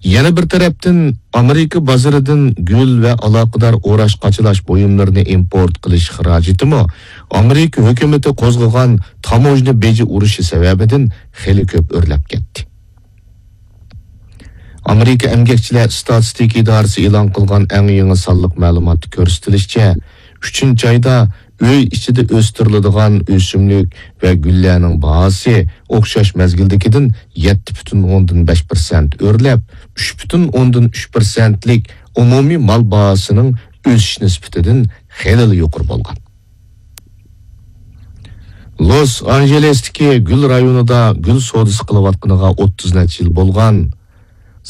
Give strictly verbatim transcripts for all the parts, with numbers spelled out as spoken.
يەنە بىر تەرەپتىن، ئامېرىكا بازىرىدىن گۈل ۋە ئالاقىدار ئوراش-قاچىلاش بۇيۇملىرىنى ئىمپورت قىلىش خىراجىتىمۇ ئامېرىكا ھۆكۈمىتى قوزغىغان تاموژنا بېجى ئۇرۇشى سەۋەبىدىن خېلى كۆپ ئۆرلەپ كەتتى. ئامېرىكا ئەمگەكچىلەر ئىستاتىستىكا ئىدارىسى ئېلان قىلغان ئەڭ يېڭى سانلىق مەلۇماتتا كۆرسىتىلىشىچە، ئۈچىنچى ئايدا ئۆي ئىچىدە ئۆستۈرۈلىدىغان ئۆسۈملۈك ۋە گۈللەرنىڭ باھاسى ئوخشاش مەزگىلدىكىدىن يەتتە پۈتۈن ئوندىن بەش پىرسەنت ئۆرلەپ، ئۈچ پۈتۈن ئوندىن ئۈچ پىرسەنتلىك ئومۇمىي مال باھاسىنىڭ ئۆسۈش نىسبىتىدىن خېلىلا يۇقىرى بولغان. لوس ئانژېلېستىكى گۈل رايونىدا گۈل سودىسى قىلىۋاتقىنىغا ئوتتۇز نەچچە يىل بولغان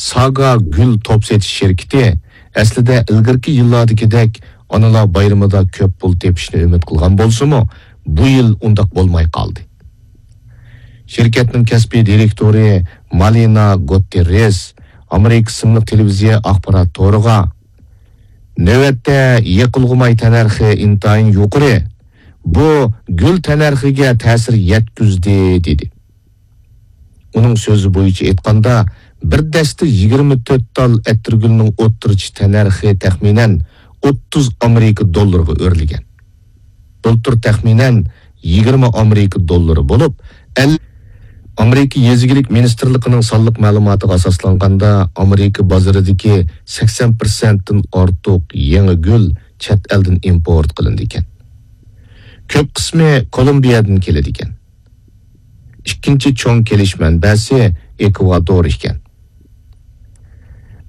ساگا گۈل توپ سېتىش شىركىتى ئەسلىدە ئىلگىرىكى يىللاردىكىدەك ئانىلار بايرىمىدا كۆپ پۇل تېپىشنى ئۈمىد قىلغان بولسىمۇ، بۇ يىل ئۇنداق بولماي قالدى. شىركەتنىڭ كەسپىي دىرېكتورى مالىنا گوتتېررېس ئامېرىكا ئىسىملىق تېلېۋىزىيە ئاخبارات تورىغا، نۆۋەتتە يېقىلغۇ ماي تەننەرخى ئىنتايىن يۇقىرى. بۇ گۈل تەننەرخىگە تەسىر يەتكۈزدى، دېدى. ئۇنىڭ سۆزى بويىچە ئېيتقاندا، بىر دەستە يىگىرمە تۆت تال ئەتىرگۈلنىڭ ئوتتۇرىچە تەننەرخى تەخمىنەن ئوتتۇز ئامېرىكا دوللىرىغا ئۆرلىگەن. بۇلتۇر تەخمىنەن يىگىرمە ئامېرىكا دوللىرى بولۇپ، ئەل-، ئامېرىكا يېزا ئىگىلىك مىنىستىرلىقىنىڭ سانلىق مەلۇماتىغا ئاساسلانغاندا، ئامېرىكا بازىرىدىكى سەكسەن پىرسەنتتىن ئارتۇق يېڭى گۈل چەت ئەلدىن ئىمپورت قىلىنىدىكەن. كۆپ قىسمى كولومبىيەدىن كېلىدىكەن. ئىككىنچى چوڭ كېلىش مەنبەسى ئېكۋادور ئىكەن.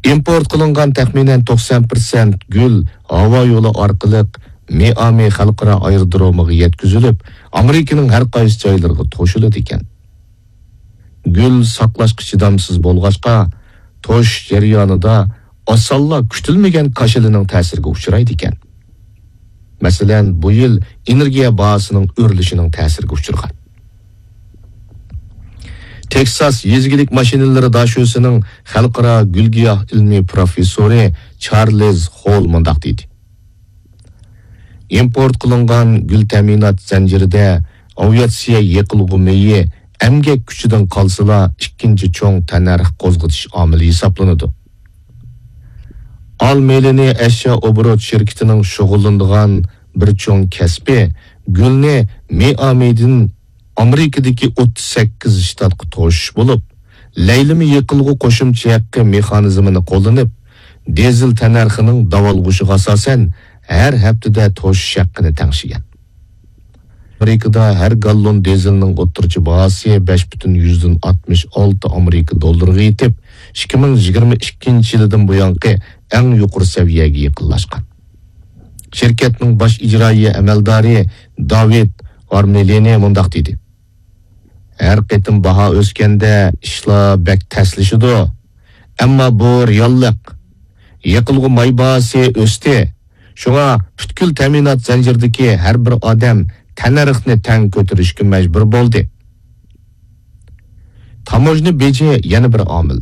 ئىمپورت قىلىنغان تەخمىنەن توقسان پىرسەنت گۈل ھاۋا يولى ئارقىلىق مىئامى خەلقئارا ئايرودرومىغا يەتكۈزۈلۈپ، ئامېرىكىنىڭ ھەر قايسى جايلىرىغا توشۇلىدىكەن. گۈل ساقلاشقا چىدامسىز بولغاچقا، توشۇش جەريانىدا ئاسانلا كۈتۈلمىگەن كاشىلىنىڭ تەسىرىگە ئۇچرايدىكەن. مەسىلەن، بۇ يىل ئېنېرگىيە باھاسىنىڭ ئۆرلىشىنىڭ تەسىرىگە ئۇچرىغان. تېكساس يېزا ئىگىلىك ماشىنىلىرى داشۆسىنىڭ خەلقئارا گۈل-گىياھ ئىلمىي پروفېسسورى چارلىز خول مۇنداق دېدى: ئىمپورت قىلىنغان گۈل تەمىنات زەنجىرىدە ئاۋىئاتسىيە، يېقىلغۇ مېيى، ئەمگەك كۈچىدىن قالسىلا، ئىككىنچى چوڭ تەننەرخ قوزغىتىش ئامىلى ھېسابلىنىدۇ. ئال مېلىنى ئەشيا ئوبوروت شىركىتىنىڭ شۇغۇللىنىدىغان بىر چوڭ كەسپى گۈلنى مىئامىدىن ئامېرىكىدىكى ئوتتۇز سەككىز شتاتقا توشۇش بولۇپ، لەيلىمە يېقىلغۇ قوشۇمچە ھەققى مېخانىزمىنى قوللىنىپ، دىزېل تەننەرخىنىڭ داۋالغۇشىغا ئاساسەن، ھەر ھەپتىدە توشۇش ھەققىنى تەڭشىگەن. ئامېرىكىدا ھەر گاللون دىزېلنىڭ ئوتتۇرىچە باھاسى بەش پۈتۈن يۈزدىن ئاتمىش ئالتە ئامېرىكا دوللىرىغا يېتىپ، ئىككى مىڭ يىگىرمە ئىككىنچى يىلىدىن بۇيانقى ئەڭ يۇقىرى سەۋىيەگە يېقىنلاشقان. شىركەتنىڭ باش ئىجرائىيە ئەمەلدارى داۋىد ئارمېلىنى مۇنداق دېدى: ھەر قېتىم باھا ئۆسكەندە ئىشلار بەك تەسلىشىدۇ. ئەمما بۇ رېئاللىق. يېقىلغۇ ماي باھاسى ئۆستى. شۇڭا پۈتكۈل تەمىنات زەنجىرىدىكى ھەر بىر ئادەم تەننەرخنى تەڭ كۆتۈرۈشكە مەجبۇر بولدى. تاموژنا بېجى يەنە بىر ئامىل.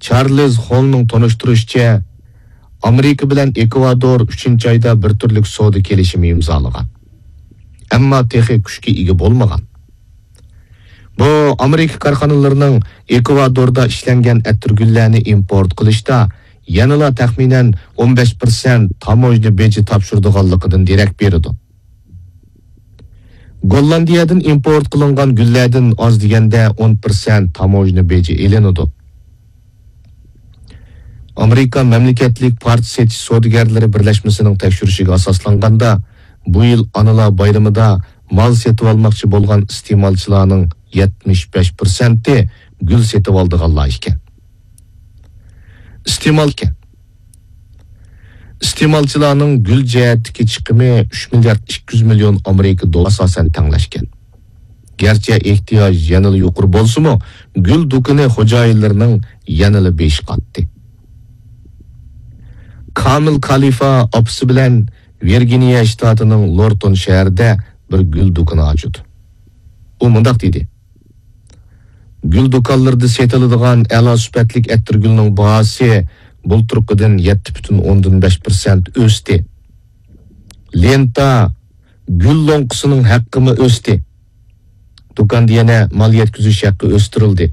چارلىز خولنىڭ تونۇشتۇرۇشىچە، ئامېرىكا بىلەن ئېكۋادور ئۈچىنچى ئايدا بىر تۈرلۈك سودا كېلىشىمى ئىمزالىغان. ئەمما تېخى كۈچكە ئىگە بولمىغان. بۇ ئامېرىكا كارخانىلىرىنىڭ ئېكۋادوردا ئىشلەنگەن ئەتىرگۈللەرنى ئىمپورت قىلىشتا يەنىلا تەخمىنەن ئون بەش پىرسەنت تاموژنا بېجى تاپشۇرىدىغانلىقىدىن دېرەك بېرىدۇ. گوللاندىيەدىن ئىمپورت قىلىنغان گۈللەردىن ئاز دېگەندە ئون پىرسەنت تاموژنا بېجى ئېلىنىدۇ. ئامېرىكا مەملىكەتلىك پارچە سېتىش سودىگەرلىرى بىرلەشمىسىنىڭ تەكشۈرۈشىگە ئاساسلانغاندا، بۇ يىل ئانىلار بايرىمىدا مال سېتىۋالماقچى بولغان ئىستېمالچىلارنىڭ يەتمىش بەش پىرسەنتى گۈل سېتىۋالىدىغانلار ئىكەن. ئىستېمال ئىكەن. ئىستېمالچىلارنىڭ گۈل جەھەتتىكى چىقىمى ئۈچ مىليارد ئىككى يۈز مىليون ئامېرىكا دوللىرى ئاساسەن تەڭلەشكەن. گەرچە ئېھتىياج يەنىلا يۇقىرى بولسىمۇ، گۈل دۇكىنى خوجايىنلىرىنىڭ يەنىلا بېشى قاتتى. كامىل كالىفا ئاپىسى بىلەن ۋىرگىنىيە شتاتىنىڭ لورتون شەھىرىدە بىر گۈل دۇكىنى ئاچىدۇ. ئۇ مۇنداق دېدى: گۈل دۇكانلىرىدا سېتىلىدىغان ئەلا سۈپەتلىك ئەتىرگۈلنىڭ باھاسى بۇلتۇرقىدىن يەتتە پۈتۈن ئوندىن بەش پىرسەنت ئۆستى. لېنتا، گۈل لوڭقىسىنىڭ ھەققىمۇ ئۆستى. دۇكاندا يەنە مال يەتكۈزۈش ھەققى ئۆستۈرۈلدى.